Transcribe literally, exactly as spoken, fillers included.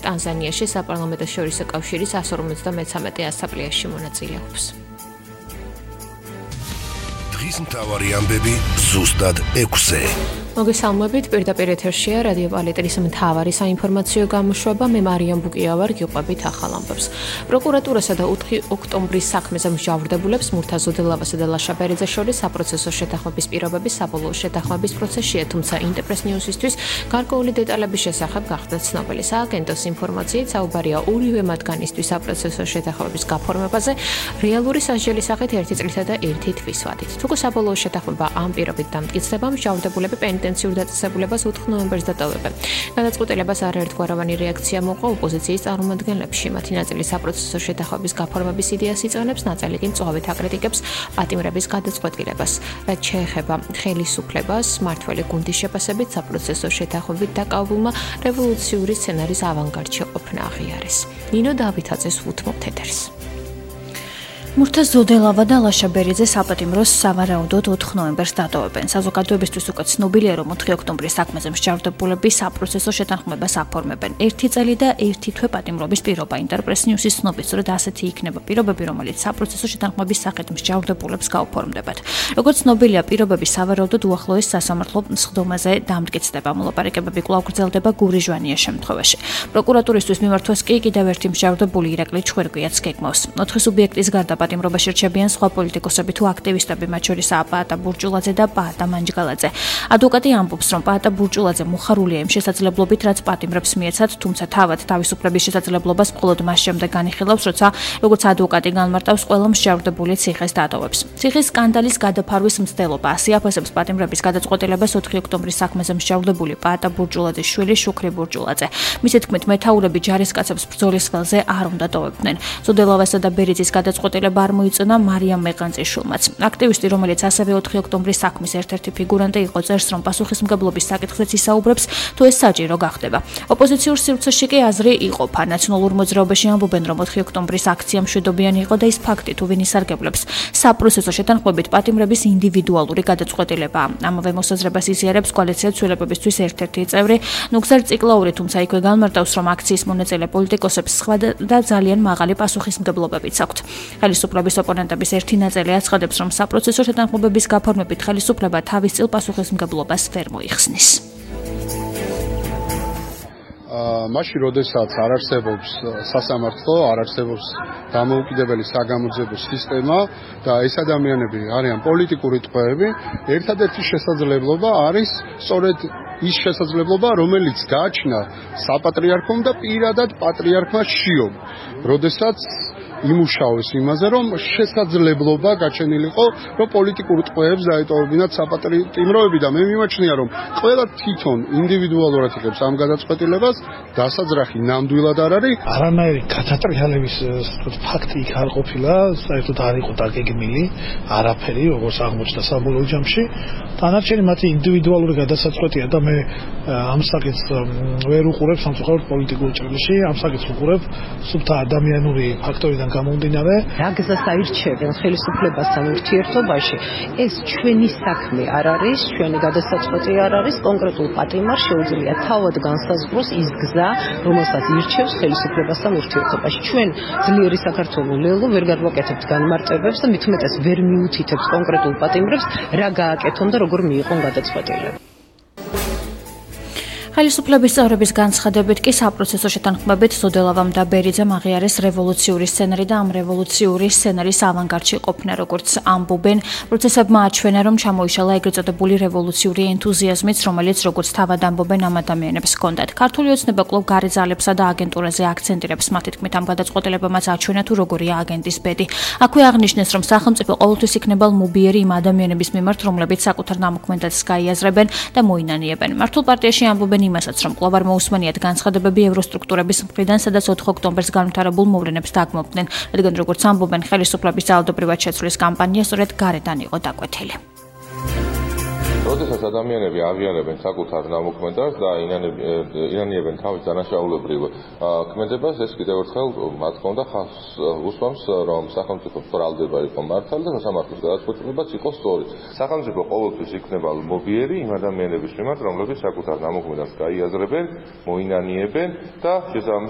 ტანზანიაში საპარლამენტო შორისო კავშირის εκατს ორმოცდამეცამეტე ასამბლეაში მონაწილეობს. დღის მთავარი ამბები ზუსტად ექვსზე. მოგესალმებით, პირდაპირ ეთერშია რადიო პალეტრის მთავარი საინფორმაციო გამოშვება. მე მარიამ ბუკია ვარ, გიყვებით ახალ ამბებს. პროკურატურასა და ოთხი ოქტომბრის საქმეზე მსჯავრდებულებს მურთაზ ოდელავასა და ლაშა ბერიძეს შორის საპროცესო შეთანხმების პირობები საბოლოო შეთანხმების პროცესშია, თუმცა ინტერპრეს ნიუსისთვის გარკვეული დეტალების შესახებ გახდა ცნობილი. სააგენტოს ინფორმაციით საუბარია ორივე მათგანისთვის საპროცესო შეთანხმების გაფორმებაზე რეალური სასჯელის სახით ერთი წლითა და ერთი თვის ვადით. თუ საბოლოო შეთანხმება ამ პირობით დამტკიცდება, მსჯავრდებულები პენიტენციურ დაწესებულებას ოთხ ნოემბერს დატოვებენ. გადაწყვეტილებას არაერთგვაროვანი რეაქცია მოყვა ოპოზიციის წარმომადგენლებში. მათი ნაწილი საპროცესო შეთანხმების გაფორმების იდეას იწონებს, ნაწილი კი მწვავედ აკრიტიკებს პატიმრების გადაწყვეტილებას. რაც შეეხება ხელისუფლებას, მმართველი გუნდის შეფასებით საპროცესო შეთანხმებით დაკავებულმა რევოლუციური სცენარის ავანგარდში ყოფნა აღიარეს. ნინო დავითაძეს უთმობთ ეთერს. მურთაზ ოდელავა და ლაშა ბერიძე საპატიმროს სავარაუდოდ ოთხ ნოემბერს დატოვებენ. საზოგადოებისთვის უკვე ცნობილია, რომ ოთხი ოქტომბრის საქმეზე მსჯავრდებულები საპროცესო შეთანხმებას აფორმებენ. ერთი წელი და ერთი თვე პატიმრობის პირობა. ინტერპრეს ნიუსის ცნობით, სწორედ ასეთი იქნება პირობები, რომელიც საპროცესო შეთანხმების სახით მსჯავრდებულებს გაუფორმდებათ. როგორც ცნობილია, პირობები სავარაუდოდ უახლოეს სასამართლო სხდომაზე დამტკიცდება. მოლაპარაკებები კვლავ გრძელდება გური ჟვანიას შემთხვევაში. პროკურატურისთვის მიმართვას კი კიდევ ერთი მსჯავრდებული ირაკლი ჩხვერგვიაც გეგმავს. ოთხი სუბიექტის გარდა პატიმრობაში რჩებიან სხვა პოლიტიკოსები თუ აქტივისტები, მათ შორისაა პაატა ბურჭულაძე და პაატა მანჯგალაძე. ადვოკატი ამბობს, რომ პაატა ბურჭულაძე მოხარულია იმ შესაძლებლობით, რაც პატიმრებს მიეცათ, თუმცა თავად თავისუფლების შესაძლებლობას მხოლოდ მას შემდეგ განიხილავს, როცა როგორც ადვოკატი განმარტავს, ყველა მსჯავრდებული ციხეს დატოვებს. ციხის სკანდალის გადაფარვის მცდელობა ასე აფასებს პატიმრების გადაწყვეტილებას ოთხი ოქტომბრის საქმეზე მსჯავრდებული პაატა ბურჭულაძის შვილი შუქრი ბურჭულაძე. მისი თქმით, მეთაურები ჯარისკაცებს ბრძოლის ხელზე არ უნდა ტოვებდნენ. ზოდელავასა და ბერიძის გადაწყვეტილება არ მოიწონა მარიამ მეყანწიშვილმაც. აქტივისტი, რომელიც ასევე ოთხი ოქტომბრის საქმის ერთ-ერთი ფიგურანტი იყო, წერს, რომ პასუხისმგებლობის საკითხზეც ისაუბრებს, თუ ეს საჭირო გახდება. ოპოზიციურ სივრცეში კი აზრი იყოფა. ნაციონალურ მოძრაობაში ამბობენ, რომ ოთხი ოქტომბრის აქცია მშვიდობიანი იყო და ის ფაქტი, თუ ვინ ისარგებლებს საპროცესო შეთანხმებით პატიმრების ინდივიდუალური გადაწყვეტილებაა. ამავე მოსაზრებას იზიარებს კოალიცია ცვლილებებისთვის ერთ-ერთი წევრი ნუგზარ ციკლაური, თუმცა იქვე განმარტავს, რომ აქციის მონაწილე პოლიტიკოსებს სხვა და ძალიან მაღალი პასუხისმგებლობებიც აქვთ. ხელისუფლების ოპონენტების ერთი ნაწილი აცხადებს, რომ საპროცესო შეთანხმებების გაფორმებით ხელისუფლება თავის წილ პასუხისმგებლობას ვერ მოიხსნის. მაშინ, როდესაც არ არსებობს სასამართლო, არ არსებობს დამოუკიდებელი საგამოძიებო სისტემა და ეს ადამიანები არიან პოლიტიკური ტყვეები, ერთადერთი შესაძლებლობა არის სწორედ ის შესაძლებლობა, რომელიც გააჩნდა საპატრიარქომ და პირადად პატრიარქმა შიომ, როდესაც იმუშავეს იმაზე, რომ შესაძლებლობა გაჩენილიყო, რომ პოლიტიკურ ტყვეებს დაეტოვებინათ საპატიმროები და მე მიმაჩნია, რომ ყველა თვითონ ინდივიდუალურად იღებს ამ გადაწყვეტილებას, დასაძრახი ნამდვილად არ არის. არანაირი გადატრიალების ფაქტი იქ არ ყოფილა, საერთოდ არ იყო დაგეგმილი, არაფერი, როგორც აღმოჩნდა საბოლოო ჯამში. დანარჩენი მათი ინდივიდუალური გადასაწყვეტია და მე ამ საკითხს ვერ უყურებ სამწუხაროდ პოლიტიკურ ჭრილში, ამ საკითხს უყურებ სუფთა ადამიანური ფაქტორიდან გამომდინარე. რა გზას აირჩევენ ხელისუფლებასთან ურთიერთობაში, ეს ჩვენი საქმე არ არის, ჩვენი გადასაწყვეტი არ არის, კონკრეტულ პატიმარს შეუძლია თავად განსაზღვროს ის გზა, რომელსაც ირჩევს ხელისუფლებასთან ურთიერთობაში. ჩვენ ძლიერი საქართველოს ლელო ვერ გადვაკეთებთ განმარტებებს და მით უმეტეს ვერ მიუთითებთ კონკრეტულ პატიმრებს, რა გააკეთონ და როგორ მიიღონ გადაწყვეტილება. ხელისუფლების წევრების განცხადებით კი საპროცესო შეთანხმებით ზოდელავამ და ბერიძემ აღიარეს რევოლუციური სცენარი და ამ რევოლუციური სცენარის ავანგარდში ყოფნა, როგორც ამბობენ. პროცესებმა აჩვენა, რომ ჩამოიშალა ეგრეთ წოდებული რევოლუციური ენთუზიაზმიც, რომელიც როგორც თავად ამბობენ ამ ადამიანებს ჰქონდათ. ქართული ოცნება კვლავ გარე ძალებსა და აგენტურაზე აქცენტირებს. მათი თქმით, ამ გადაწყვეტილებამაც აჩვენა, თუ როგორია აგენტის ბედი. აქვე აღნიშნეს, რომ სახელმწიფო ყოველთვის იქნება ლმობიერი იმ ადამიანების მიმართ, რომლებიც საკუთარ ნამოქმედებს გაიაზრებენ და მოინანიებენ. მართულ პარტიაში ამბობენ იმასაც, რომ კვლავ არ მოусმენიათ განცხადებები ევროსტრუქტურების მხრიდან, სადაც ოთხ ოქტომბერს განვითარებულ მოვლენებს დაგმობდნენ, რადგან როგორც ამბობენ, ხელისუფლების ძალადობრივად შეცვლის კამპანია სწორედ გარედან იყო დაკვეთილი. როდესაც ადამიანები აღიარებენ საკუთარ ნამოქმედებს და ინანიებენ თავის დანაშაულებრივ ქმედებას, ეს კიდევ ერთხელ მათ ჰქონდა ხაზს უსვამს, რომ სახელმწიფო ბრალდება იყო მართალი და სასამართლოს გადაწყვეტილებაც იყო სწორი. სახელმწიფო ყოველთვის იქნება ლმობიერი იმ ადამიანების მიმართ, რომლებიც საკუთარ ნამოქმედებს გაიაზრებენ, მოინანიებენ და შესაბამისად